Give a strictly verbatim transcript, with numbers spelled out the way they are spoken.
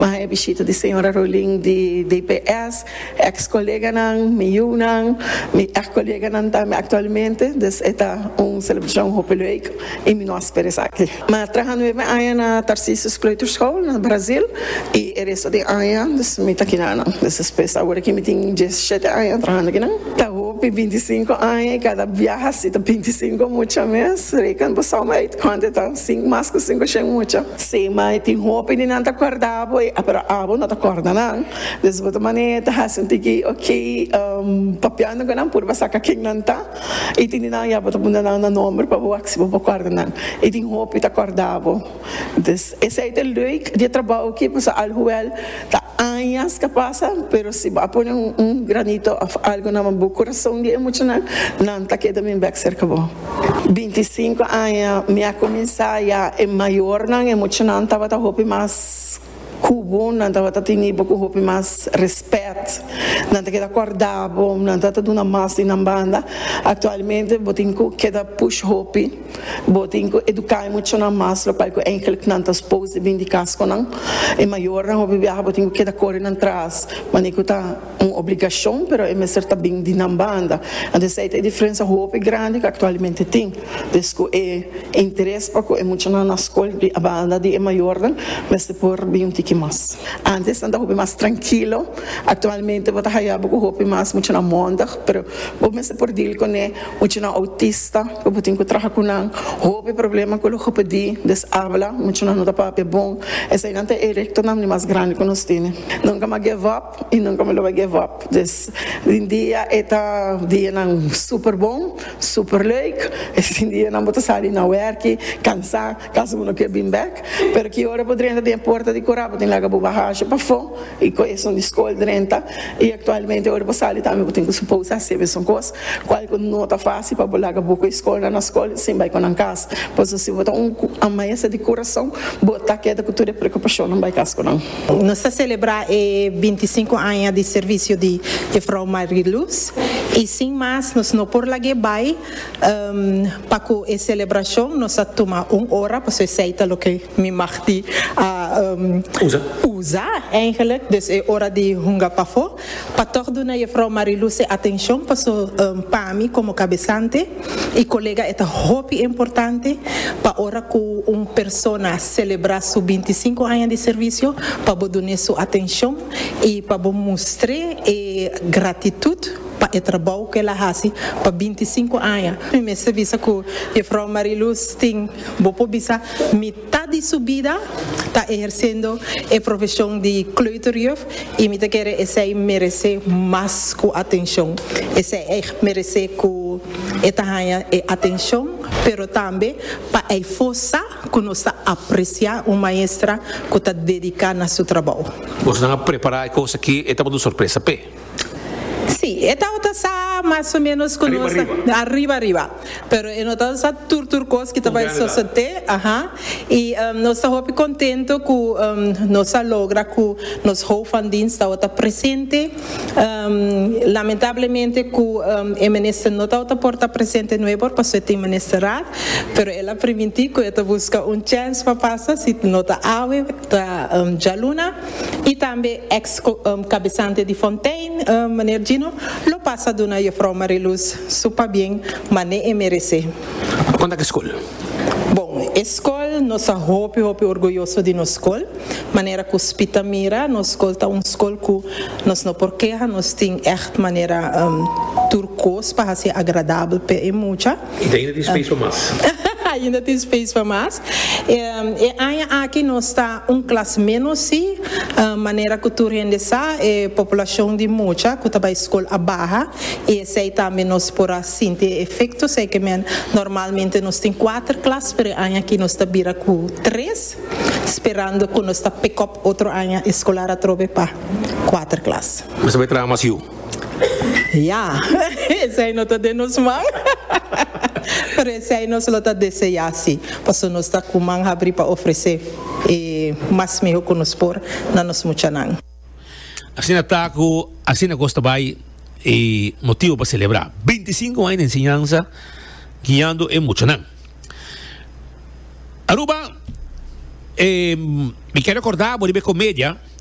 M'a bishita di señora Rowling di D P S, ex-coleganan, mi yiunan, mi ex-coleganan tambe actualmente, dus e ta un celebracion hopi leuk y mi no a spera esaki. M'a traha nuebe aña na Tarcisius Kleuterschool na Brasil y e resto di aña, dus mi ta aki nan. Dus despues awor cu mi tin diesshete aña trahando aki nan. Ta hopi, binticinco aña y cada biaha si ta binticinco mucha mes, reken bo som uit cuanto ta, cinco, mas cu cinco shen mucha. Si, mas tin hopi di nan ta corda bo, pero abo no ta corda nan. Dus bo ta manera ta hasi un tiki, ok, um, papiando cu nan purba saca ken nan ta. Y tin nan ya bo ta pone nan na nomber pa bo si bo corda nan. Y tin hopi ta corda bo. Dus esey ta leuk di trabou aki, pues alhoewel ta aña cu pasa, pero si bo pone un, un granito of algo na bo curason di mucha nan, nan ta keda bin back cerca bo. binticinco aña mi a cuminsa ya e mayornan e muchanan tabata hopi mas cu bo, nan tabata tene bo cu hopi mas respet, nan ta keda corda bo, nan ta duna mas di nan banda. Actualmente bo tin cu keda push hopi, bo tin cu educa muchanan mas, loke cu eigenlijk nan ta supposed di bin di cas cu nan. E mayornan hopi biaha bo tin cu keda core nan tras, manera cu ta un obligacion, pero e mester ta bin di nan banda. Anto esey ta e diferencia hopi grandi cu actualmente tin. Dus cu e interes pa cu e muchanan na scol di banda di e mayornan, mester por bin un tiki mas. Antes nan ta hopi mas trankilo, actualmente bo ta haya bo hopi mas muchanan mondig, pero bo mester por deal cu ne muchanan autista, cu bo tin cu traha cu nan, hopi problema cu logopedie, dus habla, muchanan no ta papia bon. Esey nan ta e retonan mas grandi cu nos tin. Nunca m'a give up y nunca mi lo bay give up. Dus den dia e ta dianan super bon, super leuk. E dianan bo ta sali na werk, cansa, caso bo no kier bin back, pero cu ora bo drenta den porta di cura, bo tin laga bo bagage pafo y cu esun di scol drenta y actualmente ora bo sali tambe bo tin cu suppose haci mesun cos, cual cu no ta facil pa bo laga bo cu scol na scol sin bay cu nan cas. Pues si bo ta un maestra di curason, bo ta keda cu tur e preocupacion nan bay cas cu nan. Nos ta celebra e binticinco aña di servicio di juffrouw Mariluz y sin mas nos no por lag'e bay um, pa cu e celebracion nos a tuma un ora, pasobra esey ta loke mi mag di uh, um, Usa. Usa eigenlijk, dus e ora di hunga pafo pa toch duna juffrouw Mariluz e atencion, paso um, pa mi como cabesante y colega e ta hopi importante pa ora cu un persona celebra su binticinco aña di servicio, pa bo duna su atencion y pa bo mustra e gratitud pa e trabou cu el a haci pa binticinco aña. Mi mester bisa cu juffrouw Mariluz tin, bo por bisa, mitar di su bida ta eherciendo e profesion di kleuterjuf y mi ta kere esey merece mas cu atencion. Esey echt merece cu e ta haya e atencion, pero tambe pa e forsa cu nos ta aprecia un maestra cu ta dedica na su trabou. Boso a prepara e cos aki, e tabata un sorpresa p'e? Si, e tabata sa mas o menos cu Ariba, nos ariba. Ariba, ariba. Pero e no sa tur tur cos cu tambe Grandi. Sosode, aha. Y um, nos ta hopi contento cu um, nos a logra cu nos hoofd van dienst tabata presente. Um, lamentablemente cu um, e minister no tabata por ta presente nobo, pasobra tin ministerraad, pero el a priminti cu e ta busca un chance pa pasa, si no ta awe, ta um, dialuna. Y tambe ex um, cabesante di Fontein, um, meneer Gino, lo pasa duna juffrouw Mariluz su pabien, manera e merece. Con ta e scol? Bon, scol, nos ta hopi, hopi orguyoso di nos scol. Manera cu spita mira, nos scol ta un scol cu nos no por keha, nos tin echt manera um, tur cos pa haci agradabel pa e mucha. Y ainda tin space pa mas. Ainda tin space pa mas. Um, e aña aki nos ta un klas menos si, uh, manera cu tur hende sa, e populacion di mucha, cu ta bay scol a baha, y esey tambe nos por a sinti efecto, esey kiermen normalmente nos tin cuater klas, pero aña aki nos ta bira cu tres, sperando cu nos ta pick up otro aña escolar atrobe pa cuater klas. Mas bay traha mas yiu. Ja, esey no ta den nos man. Pero esey nos lo ta desea si. Paso nos ta cu man habri pa ofrece eh, mas miho cu nos por na nos muchanan. Asina ta cu, asina cos ta bay e motibo pa celebra. binticinco aña di enseñansa guiando e muchanan. Aruba Eh, mi ke rekordá, riba komedia.